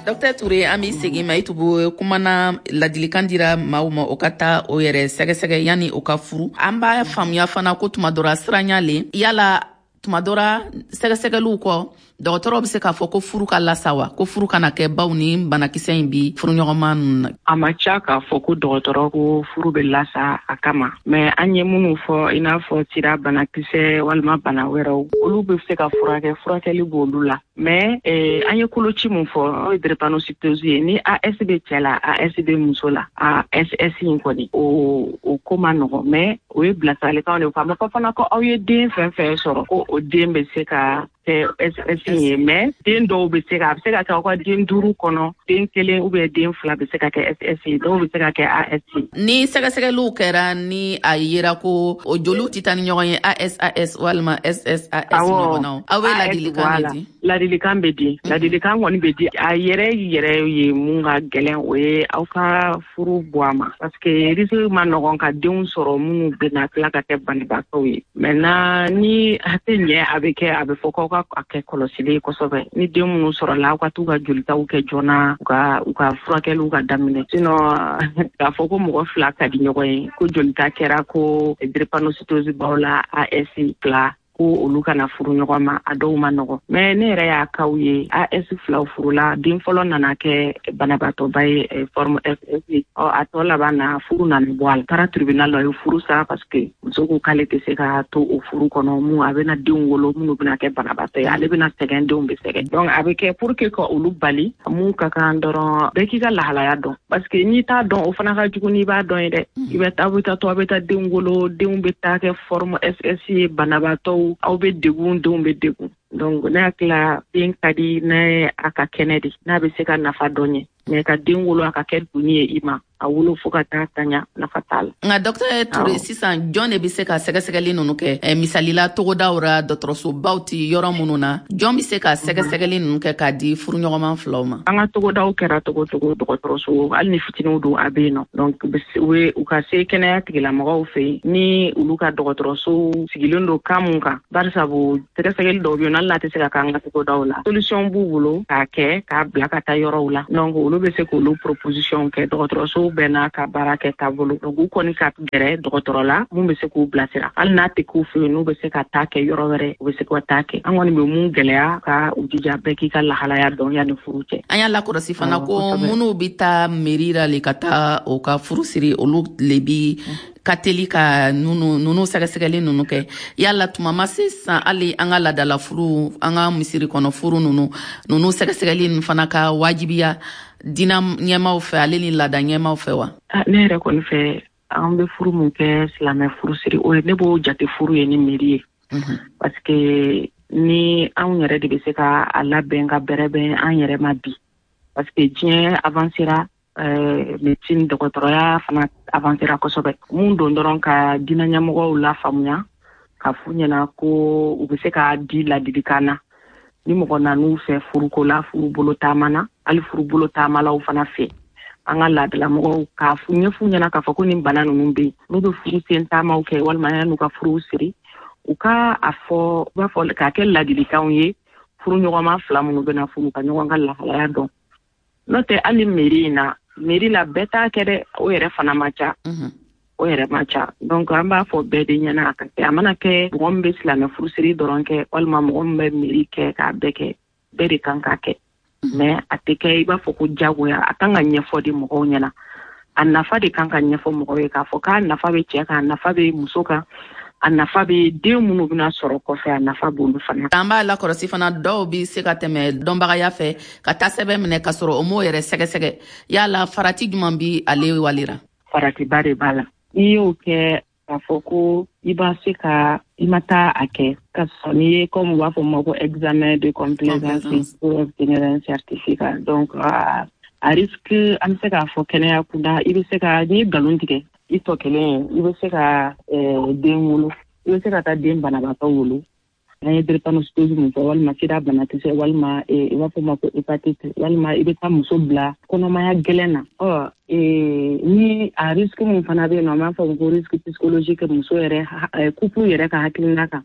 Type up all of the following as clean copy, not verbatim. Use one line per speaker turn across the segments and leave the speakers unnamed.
Dɔktɛr Ture, an b'i segin ma. I tun kumana ladilikan dira maaw ma, o ka taa o yɛrɛ sɛgɛsɛgɛ yanni o ka furu. An b'a faamuya fana ko tuma dɔ ra siranya le yala tuma dɔ ra sɛgɛsɛgɛliw kɔ, dɔgɔtɔrɔw bɛ se k'a fɔ ko furu ka lasa wa, ko furu kana kɛ baw ni banakisɛ in bi furuɲɔgɔnma ninnu na?
A ma ca k'a fɔ ko dɔgɔtɔrɔ ko furu bɛ lasa a kama, mais an ye minnu fɔ, i n'a fɔ sida banakisɛ walima bana wɛrɛw, olu bɛ se ka furakɛ, furakɛli b'olu la. Mais an ye koloci mun fɔ, o ye drépanocytose ye. Ni AS bɛ cɛ la, AS bɛ muso la, a SS in kɔni, o ko ma nɔgɔn, mais o ye bilasiralikanw de fɔ. A ma fɔ fana ko aw ye den fɛn fɛn sɔrɔ ko o den bɛ se ka kɛ SS ye, mais den dɔw bɛ se ka, a bɛ se ka kɛ aw ka den duuru kɔnɔ, den kelen ou bien den fila bɛ se ka kɛ SS ye, dɔw bɛ se ka kɛ AS ye.
Ni sɛgɛsɛgɛliw kɛra, ni a yera ko o joliw tɛ taa ni ɲɔgɔn ye, ASAS walima SSAS ɲɔgɔnnaw, aw bɛ ladilikan de di?
Ladilikan bɛ di, ladilikan kɔni bɛ di. A yɛrɛ yɛrɛ ye mun ka gɛlɛn, o ye aw ka furu bɔ a ma, parce que risque ma nɔgɔn ka denw sɔrɔ minnu bɛna tila ka kɛ banabaatɔw ye. Maintenant, ni a tɛ ɲɛ, a bɛ kɛ, a bɛ fɔ k'aw ka a kɛ kɔlɔsili ye kosɛbɛ. Ni den minnu sɔrɔla, aw ka t'u ka jolitaw kɛ joona, u ka furakɛliw ka daminɛ. Sinon, k'a fɔ ko mɔgɔ fila ka di ɲɔgɔn ye, ko jolita kɛra ko drépanocytose b'aw la, AS fila, ko olu kana furu ɲɔgɔn ma, a dɔw ma nɔgɔ. Mais ne yɛrɛ y'a kaw ye, AS filaw furula, den fɔlɔ nana kɛ banabaatɔba ye, forme SS. Ɔ, a tɔ laban na, furu nana bɔ a la, taara tribunal la, o ye furu sa, parce que muso ko k'ale tɛ se ka to o furu kɔnɔ mun a bɛna denw wolo minnu bɛna kɛ banabaatɔ ye, ale bɛna sɛgɛn, denw bɛ sɛgɛn. Donc a bɛ kɛ pour que ka olu bali. Mun ka kan dɔrɔn, bɛɛ k'i ka lahalaya dɔn, parce que n'i t'a dɔn, o fana ka jugu n'i b'a dɔn ye dɛ. I bɛ taa, aw bɛ taa to, aw bɛ taa denw wolo, denw bɛ taa kɛ forme SS ye, banabaatɔw, aw bɛ degun, denw bɛ degun. Donc ne hakili la, den ka di n'a ye a ka kɛnɛ de, n'a bɛ se ka nafa dɔ ɲɛ, mais ka den wolo a ka kɛ doni ye i ma, a wolo fo ka taa taɲa, nafa t'a la.
Nka Dɔktɛr Ture, sisan jɔn de bɛ se ka sɛgɛsɛgɛli ninnu kɛ? Misalila, togodaw ra, dɔgɔtɔrɔsobaw ti yɔrɔ minnu na, jɔn bɛ se ka sɛgɛsɛgɛli ninnu kɛ k'a di furuɲɔgɔnman filaw ma?
An ka togodaw kɛra togo togo, dɔgɔtɔrɔso, hali ni fitininw don, a bɛ yen nɔ. Donc u ka se kɛnɛya tigilamɔgɔw fɛ yen, ni olu ka dɔgɔtɔrɔso sigilen don kan mun kan, barisabu sɛgɛsɛgɛli dɔw bɛ yen, hali n'a tɛ se ka k'an ka togodaw la, solution b'u bolo k'a kɛ k'a bila ka taa yɔrɔw la. Donc olu bɛ se k'olu proposition kɛ. Dɔgɔtɔrɔso bɛɛ n'a ka baara kɛ taabolo. Donc u kɔni ka gɛrɛ dɔgɔtɔrɔ la mun bɛ se k'u bilasira. Hali n'a tɛ k'u fɛ yen, n'u bɛ se ka taa kɛ yɔrɔ wɛrɛ, u bɛ se ka taa kɛ. An kɔni bɛ mun gɛlɛya, ka u jija, bɛɛ k'i ka lahalaya dɔn yanni furu cɛ.
An y'a lakɔlɔsi fana ko minnu bɛ taa mairie la le ka taa o ka furu siri, olu le bi ka teli ka nunu sɛgɛsɛgɛli nunu kɛ. Yala tuma ma se sisan, hali an ka ladala furu, an ka misiri kɔnɔ furu nunu sɛgɛsɛgɛli nunu fana ka wajibiya dina ɲɛmaw fɛ, ale ni laada ɲɛmaw fɛ wa?
Ne yɛrɛ kɔni fɛ, an bɛ furu mun kɛ, silamɛ furu siri, o ye ne b'o jate furu ye ni miiri ye, parce que ni anw yɛrɛ de bɛ se ka a labɛn ka bɛrɛbɛn an yɛrɛ ma bi, parce que diɲɛ avancera, médecine, dɔgɔtɔrɔya fana avancera kosɛbɛ. Mun don dɔrɔn, ka diinɛ ɲɛmɔgɔw lafaamuya, ka f'u ɲɛna ko u bɛ se k'a di ladilikan na ni mɔgɔ nan'u fɛ furuko la, furu bolo taama na, hali furu bolo taamalaw fana fɛ, an ka laadalamɔgɔw k'a ɲɛf'u ɲɛna k'a fɔ ko nin bana ninnu bɛ yen. N'u bɛ furu sen taamaw kɛ walima yan'u ka furuw siri, u ka a fɔ, u b'a fɔ k'a kɛ ladilikanw ye furuɲɔgɔnma fila minnu bɛna furu, ka ɲɔgɔn ka lahalaya dɔn. N'o tɛ, hali mairie in na, mairie la, bɛɛ t'a kɛ dɛ, o yɛrɛ fana ma ca, o yɛrɛ ma ca. Donc an b'a fɔ bɛɛ de ɲɛna a ka kɛ. A mana kɛ mɔgɔ min bɛ silamɛ furusiri dɔrɔn kɛ, walima mɔgɔ min bɛ mairie kɛ, k'a bɛɛ kɛ, bɛɛ de kan k'a kɛ. Mais a tɛ kɛ i b'a fɔ ko jagoya. A kan ka ɲɛfɔ de mɔgɔw ɲɛna, a nafa de kan ka ɲɛfɔ mɔgɔw ye, k'a fɔ k'a nafa bɛ cɛ kan, a nafa bɛ muso kan, a nafa bɛ den minnu bɛna sɔrɔ kɔfɛ, a nafa b'olu fana.
An b'a lakɔlɔsi fana, dɔw bɛ se ka tɛmɛ dɔnbagaya fɛ ka taa sɛbɛn minɛ ka sɔrɔ o m'o yɛrɛ sɛgɛsɛgɛ. Yala farati jumɛn bi ale walira?
Faratiba de b'a la. N'i y'o kɛ, k'a fɔ ko i b'a se ka i ma taa a kɛ ka sɔrɔ n'i ye, comme u b'a fɔ ma ko examen de complaisance pour obtenir un certificat, donc a risque, an bɛ se k'a fɔ kɛnɛya kunda, i bɛ se ka, n'i ye nkalon tigɛ i tɔ kelen, i bɛ se ka den wolo, i bɛ se ka taa den banabaatɔ wolo. An ye drépanocytose mun fɔ, walima sida banakisɛ, walima i b'a fɔ ma ko hépatite, walima i bɛ taa muso bila kɔnɔmaya gɛlɛn na. Ɔ, ni a risque mun fana bɛ yen nɔ, an b'a fɔ ko risque psychologique, muso yɛrɛ, couple yɛrɛ ka hakilina kan,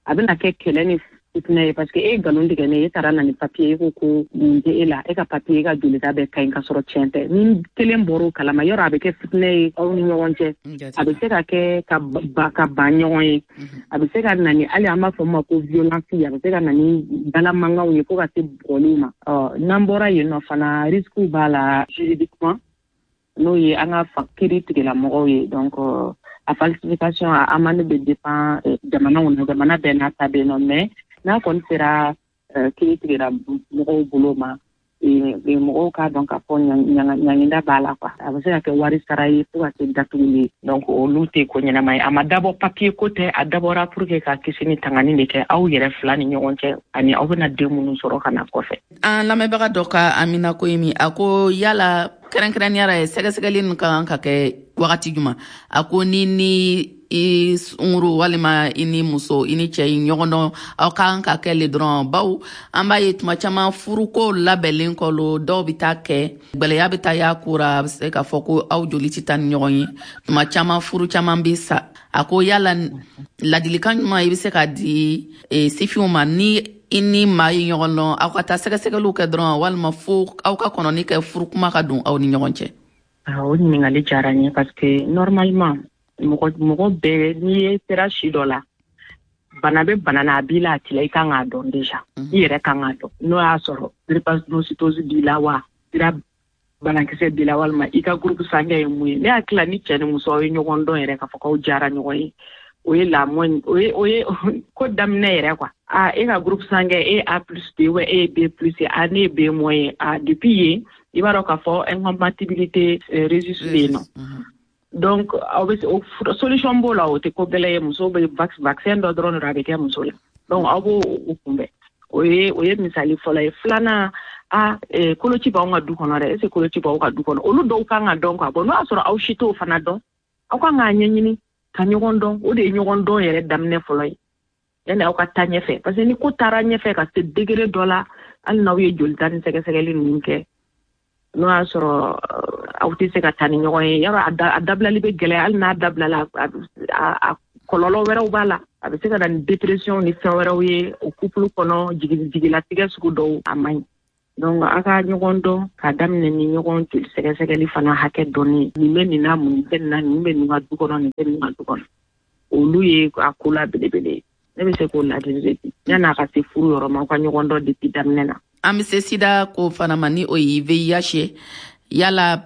a bɛna kɛ kɛlɛ ni fitinɛ ye, parce que e ye nkalon tigɛ ne ye, e taara na ni papier, e ko ko nin tɛ e la, e ka papier, e ka jolita bɛɛ ka ɲi, ka sɔrɔ tiɲɛ tɛ. Ni kelen bɔr'o kalama, yɔrɔ a bɛ kɛ fitinɛ ye aw ni ɲɔgɔn cɛ, a bɛ se ka kɛ ka ban ɲɔgɔn ye, a bɛ se ka na ni hali an b'a fɔ ma ko violence, a bɛ se ka na ni dalamankanw ye fo ka se bugɔliw ma. Ɔ n'an bɔra yen nɔ fana, risque b'a la juridiquement, n'o ye an ka kiiri tigilamɔgɔw ye. Donc a falsification, a amende bɛ dépend jamanaw na, jamana bɛɛ n'a ta bɛ yen nɔ, mais n'a kɔni sera kiiri tigila mɔgɔw bolo ma, mɔgɔw k'a dɔn k'a fɔ ɲanginda b'a la quoi. A bɛ se ka kɛ wari sara ye fo ka se datuguli ye. Donc olu tɛ ko ɲɛnama ye. A ma dabɔ papier ko tɛ, a dabɔra pour que ka kisi ni tangani de kɛ aw yɛrɛ fila ni ɲɔgɔn cɛ, ani aw bɛna den minnu sɔrɔ ka na kɔfɛ.
An lamɛnbaga dɔ ka Amina ko ye min, a ko yala kɛrɛnkɛrɛnnenya la sɛgɛsɛgɛli ninnu ka kan ka kɛ wagati jumɛn? A ko ni i sunguru walima i ni muso, i ni cɛ i ɲɔgɔn dɔn, aw ka kan ka kɛ le dɔrɔn, bawo an b'a ye tuma caman furuko labɛnlen kɔ lo, dɔw bɛ taa kɛ gwɛlɛya bɛ taa y'a ko ra, a bɛ se k'a fɔ ko aw joli tɛ taa ni ɲɔgɔn ye, tuma caman furu caman bɛ sa. A ko yala ladilikan ɲuman i bɛ se k'a di sifinw ma, ni i ni maa ye ɲɔgɔn dɔn, aw ka taa sɛgɛsɛgɛliw kɛ dɔrɔn, walima fo aw ka kɔnɔni kɛ furukuma ka don aw ni ɲɔgɔn cɛ?
O ɲininkali diyara n ye, parce que normalement mɔgɔ bɛɛ, n'i ye sera si dɔ la, bana bɛ bana na, a b'i la, a t'i la, i kan k'a dɔn déjà, i yɛrɛ kan k'a dɔn n'o y'a sɔrɔ drépanocytose b'i la wa sira banakisɛ b'i la, walima i ka groupe sanguin ye mun ye. Ne hakili la, ni cɛ ni muso aw ye ɲɔgɔn dɔn yɛrɛ k'a fɔ k'aw diyara ɲɔgɔn ye, o ye la moindre, o ye ko daminɛ yɛrɛ quoi. Ah, e ka groupe sanguin, e ye A plus de ou e ye B plus ye, ah, ne ye B moins ye, ah, depuis yen i b'a dɔn k'a fɔ incompatibilité rhésus bɛ yen nɔ. Donc aw bɛ o solution b'o la, o tɛ ko gɛlɛn ye. Muso bɛ vaccin dɔ dɔrɔn de a bɛ kɛ muso la, donc aw b'o o kunbɛn. O ye misali fɔlɔ ye. Filanan, a koloci b'anw ka du kɔnɔ dɛ, est ce que koloci b'aw ka du kɔnɔ? Olu dɔw kan ka dɔn quoi. Bon, n'o y'a sɔrɔ aw si t'o fana dɔn, aw kan k'a ɲɛɲini ka ɲɔgɔn dɔn. O de ye ɲɔgɔn dɔn yɛrɛ daminɛ fɔlɔ ye, yanni aw ka taa ɲɛfɛ, parce que ni ko taara ɲɛfɛ ka se degré dɔ la, hali n'aw ye jolita ni sɛgɛsɛgɛli ninnu kɛ, n'o y'a sɔrɔ aw tɛ se ka taa ni ɲɔgɔn ye, yɔrɔ a dabilali bɛ gɛlɛya. Hali n'a dabilala, a kɔlɔlɔ wɛrɛw b'a la, a bɛ se ka na ni dépression ni fɛn wɛrɛw ye o couple kɔnɔ, jigilatigɛ sugu dɔw, a man ɲi. Donc a ka ɲɔgɔn dɔn k'a daminɛ ni ɲɔgɔn joli sɛgɛsɛgɛli fana hakɛ dɔnni, nin bɛ nin na, mun tɛ nin na, nin bɛ nin ka du kɔnɔ, nin tɛ nin ka du kɔnɔ, olu ye a ko la belebele ye. Ne bɛ se k'o ladili de di yanni a ka se furu yɔrɔ ma, aw ka ɲɔgɔn dɔn depuis daminɛ na.
An bɛ se sida ko fana ma, ni o ye VIH ye. Yala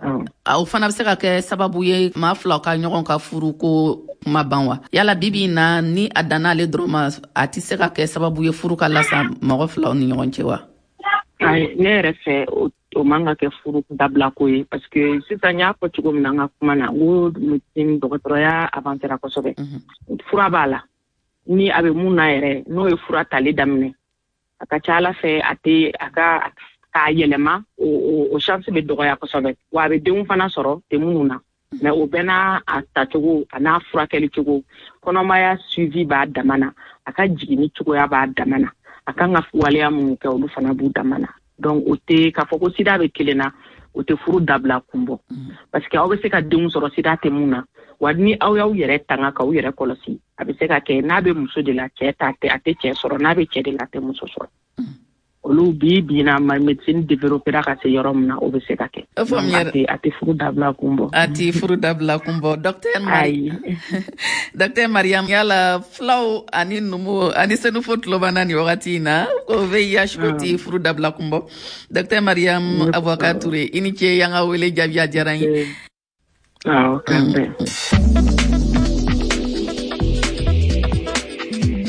o fana bɛ se ka kɛ sababu ye maa filaw ka ɲɔgɔn ka furu ko kuma ban wa? Yala bibi in na, ni a danna ale dɔrɔn ma, a tɛ se ka kɛ sababu ye furu ka lasa mɔgɔ filaw ni ɲɔgɔn cɛ wa?
Ayi, ne yɛrɛ fɛ, o man ka kɛ furu dabila ko ye, parce que sisan n y'a fɔ cogo min na n ka kuma na, n ko médecine, dɔgɔtɔrɔya avancera kosɛbɛ, fura b'a la. Ni a bɛ mun na yɛrɛ, n'o ye fura tali daminɛ, a ka ca ala fɛ a tɛ a ka k'a yɛlɛma, o chance bɛ dɔgɔya kosɛbɛ, wa a bɛ denw fana sɔrɔ tɛ minnu na. Mais o bɛɛ n'a a tacogo, a n'a furakɛli cogo, kɔnɔmaya suivi b'a dama na, a ka jiginni cogoya b'a dama na, a kan ka waleya minnu kɛ, olu fana b'u dama na. Donc o tɛ k'a fɔ ko sida bɛ kelen na, o tɛ furu dabila kun bɔ, parce que aw bɛ se ka denw sɔrɔ sida tɛ mun na. Wa ni aw y'aw yɛrɛ tanga k'aw yɛrɛ kɔlɔsi, a bɛ se ka kɛ n'a bɛ muso de la, cɛ ta tɛ, a tɛ cɛ sɔrɔ, n'a bɛ cɛ de la, a tɛ muso sɔrɔ. Olu bi bi na ma médecine développera ka se yɔrɔ min na, o bɛ se ka kɛ. A tɛ furu dabila kun bɔ.
A tɛ furu dabila kun bɔ. Docteur Mari, docteur Mariam, yala filaw ani numu ani senufo tulo b'an na nin wagati in na ko VIH ko tɛ furu dabila kun bɔ. Docteur Mariam Aboubacar Touré, i ni ce y'an ka wele jaabi, a diyara n ye.
Awɔ, k'an bɛn.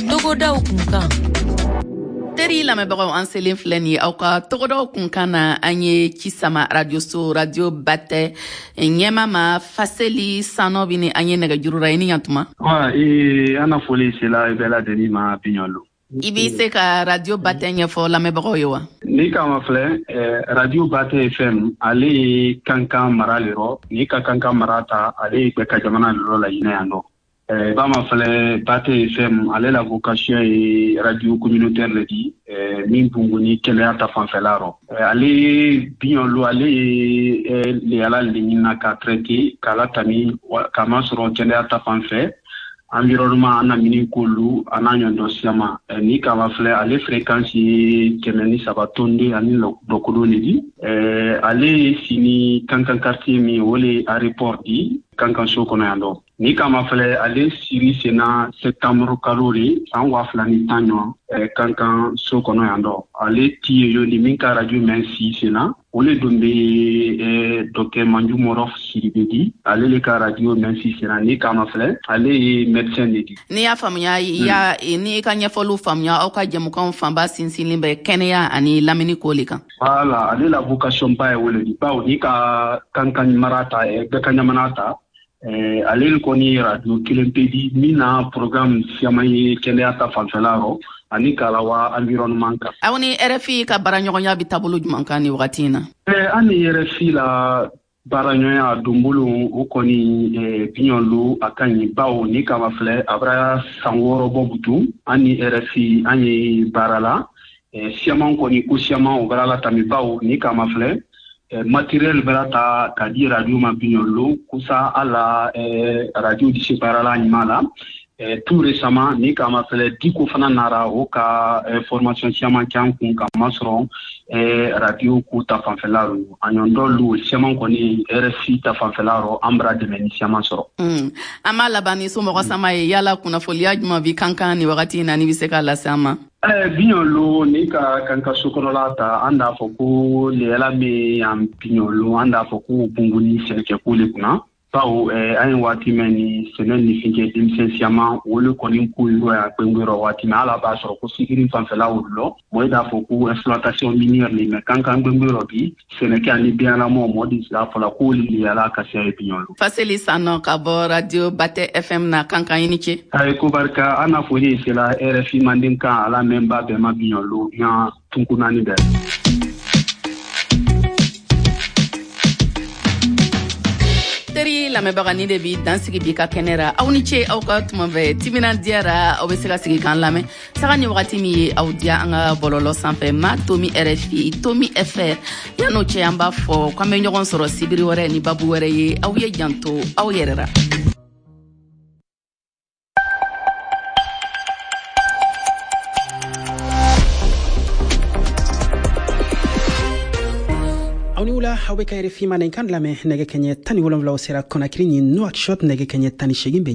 Togodaw kunkan. Teri lamɛnbagaw, an selen filɛ nin ye aw ka togodaw kunkan na. An ye ci sama radioso Radio Batɛ ɲɛma ma, Faseli Sanɔ bi ni an ye nɛgɛjuru ra. I ni ɲantuma.
An na foli sela i bɛɛ lajɛlen ma biɲɔlo.
I b'i se ka Radio Batɛ ɲɛfɔ lamɛnbagaw ye wa?
Ni kama filɛ, Radio Batɛ FM, ale ye Kankan mara le rɔ. Ni ka Kankan mara ta, ale ye ka jamana le rɔ Laginɛ yan nɔ. I b'a ma filɛ, Batɛ FM, ale la vocation ye radio communautaire le di min bunguni kɛnɛya ta fanfɛla rɔ. Ale biɲɔlo, ale ye leyala le ɲinina ka traiter k'a latami k'a masɔrɔ kɛnɛya ta fan fɛ. Environnement a namini kolu a n'a ɲɔgɔn siyama. Ni k'a mafilɛ, ale fréquence ye 103 tonden ani dɔkodon de di. Ale ye sini Kankan quartier min, o le aéroport di Kankan so kɔnɔ yan dɔ. Ni k'a mafilɛ, ale siri senna septembre kalo de san 2010 ɲɔgɔn Kankan so kɔnɔ yan dɔ. Ale ti ye yoni min ka radio mɛn si senna, o le don bɛ docteur Manju Mɔrɔ Sidibe di. Ale le ka radio mɛn si senna. Ni k'a mafilɛ, ale ye médecin de di.
N'i y'a faamuya, i y'a n'i ka ɲɛfɔliw faamuya, aw ka jɛmukanw fanba sinsinlen bɛ kɛnɛya ani lamini ko le kan.
Voilà, ale la vocation ba ye o le di, bawo ni ka Kankan mara ta, bɛɛ ka ɲamana ta, ale kɔni ye radio kelen pe di min na programme siaman ye kɛnɛya ta fanfɛla rɔ ani k'a la wa environnement kan.
Aw ni RFI ka baaraɲɔgɔnya bɛ taabolo jumɛn kan nin wagati in na?
An ni RFI la baaraɲɔgɔnya donbolo, o kɔni biɲɔlu a ka ɲi, bawo ni kama filɛ, a bɛra san 6 bɔ butu an ni RFI an ye baara la. Siaman kɔni ko siaman o bɛra la tami, bawo ni kama filɛ, matériel bɛra ta ka di radio ma biɲɔlu kusa ala radio di se baara la ɲuman la. Tout récemment, ni kama filɛ, diko fana nara o ka formation caman k'an kun ka masɔrɔ radio ko ta fanfɛla rɔ. A ɲɔgɔn dɔ lu caman kɔni, RFI ta fanfɛla rɔ, an bara dɛmɛ ni caman sɔrɔ.
An b'a laban ni somɔgɔ sama ye. Yala kunnafoliya jumɛn bi Kankan nin wagati in na, n'i bɛ se k'a lase an ma?
Biɲɔlu, ni ka Kankan so kɔnɔla ta, an d'a fɔ ko leyala min yan biɲɔlu, an d'a fɔ ko bunguni sɛnɛkɛko le kunna, bawo an ye waati mɛn ni sɛnɛ ni fɛn kɛ denmisɛn siaman o le kɔni ko yɔrɔ yan gbɛngbɛrɔ waati mɛn ala b'a sɔrɔ ko sikiri fanfɛla olu lɔ mɔɔ d'a fɔ ko exploitation minière le. Mɛ Kankan gbɛngbɛrɔ bi, sɛnɛkɛ ani biyanlamɔ mɔɔ di sira fɔla k'olu leyala ka siya ye biɲɔlu.
Faseli Sanɔ ka bɔ radio Batɛ FM na Kankan, i ni ce.
Ayi, ko barika. An na foli sela RFI manden kan ala mɛn ba bɛɛ ma biɲɔlu yan tunku naani bɛɛ.
Teri lamɛnbaga, ni de bi dansigi bi ka kɛnɛ ra. Aw ni ce aw ka tuma bɛɛ timinan diyara. Aw bɛ se ka sigi k'an lamɛn saga ni wagati min ye aw diya an ka bɔlɔlɔ sanfɛ, ma tomi RFI tomi fr. Yan'o cɛ, an b'a fɔ k'an bɛ ɲɔgɔn sɔrɔ sibiri wɛrɛ ni babu wɛrɛ ye. Aw ye janto aw yɛrɛ ra.
Aw ni wula, aw bɛ ka RFI mandenkan lamɛn. Nɛgɛ kɛɲɛ 17 sera Conakry ni Nouakchott, nɛgɛ kɛɲɛ 18 bɛ.